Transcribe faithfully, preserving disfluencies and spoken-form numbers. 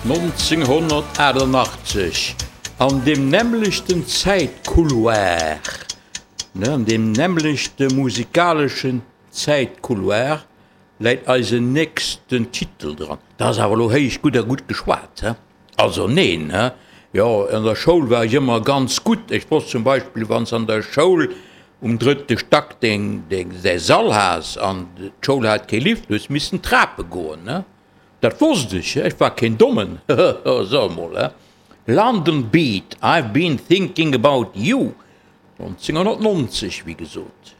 nonzénghonnertachtannachtzeg, an deem nämmlechten Zäitcouloir, ne, an deem nämmlechte musikaleschen Zäitcouloir läit eisen nächsten Titel dran. Dat ass awer elo héich gutt a gutt geschwat, he? Also neen, he? Jo, an der Schoul war ech ëmmer ganz gutt. Ech wosst zum Beispill, wann s an der Schoul um drëtte Stack deng, deng, däi Sall has an d'Schoul hat kee Lift, hues missen Trape goen, ne? Dat wosst ech, he? Ech war keen Dommen, hehe, so emol, he? London Beat, I've been thinking about you, nonzénghonnertnonzeg, wéi gesot.